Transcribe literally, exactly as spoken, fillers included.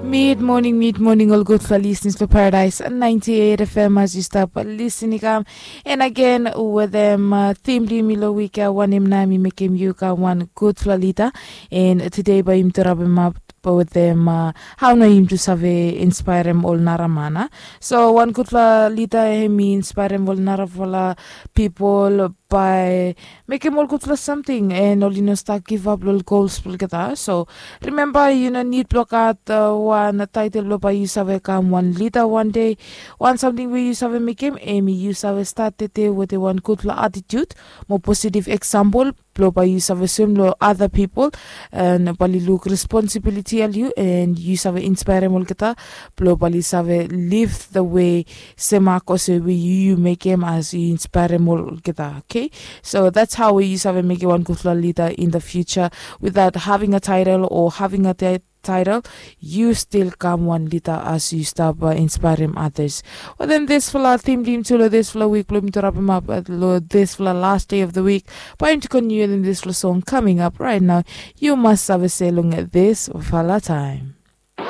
Mid moning, mid moning, ol gudfala lisnis blong Paradise ninety eight F M as yu stap lisin i kam. En agen wetem tim blong yumi long wik ya, wanem nao em i mekem yu kam wan gudfala lida. En tude bae yumi tu rabemap wetem hao nao yumi tu save inspaerem ol nara man. So wan gudfala lida hem i inspaerem ol narafala pipol bae mekem ol gudfala samting, en oli no stap givap long ol gols blong olgeta. So rimemba, yu no nid blong gat wan taetel blong bae yu save kam wan lida wan dei. Wan samting we yu save mekem, hemi yu save stat tede wetem wan gudfala atitiut mo positiv eksampol blong bae yu save soem long ada pipol, en bae oli luk responsibiliti blong yu, en yu save inspaerem olgeta blong bae oli save liv the way, semak olsem we yu mekem as yu inspaerem olgeta. Okay, so that's how we yu save mekem wan gudfala lida in the future without having a title or having a ti- title. Yu stil kam wan lida as yu stap inspaerem others. Wetem disfala tim blong yumi tu long disfala wik blong yumi tu rabemap long disfala last day of the week, bae yumi tu kontiniu wetem disfala song coming up right now. Yu mas save se long disfala taem.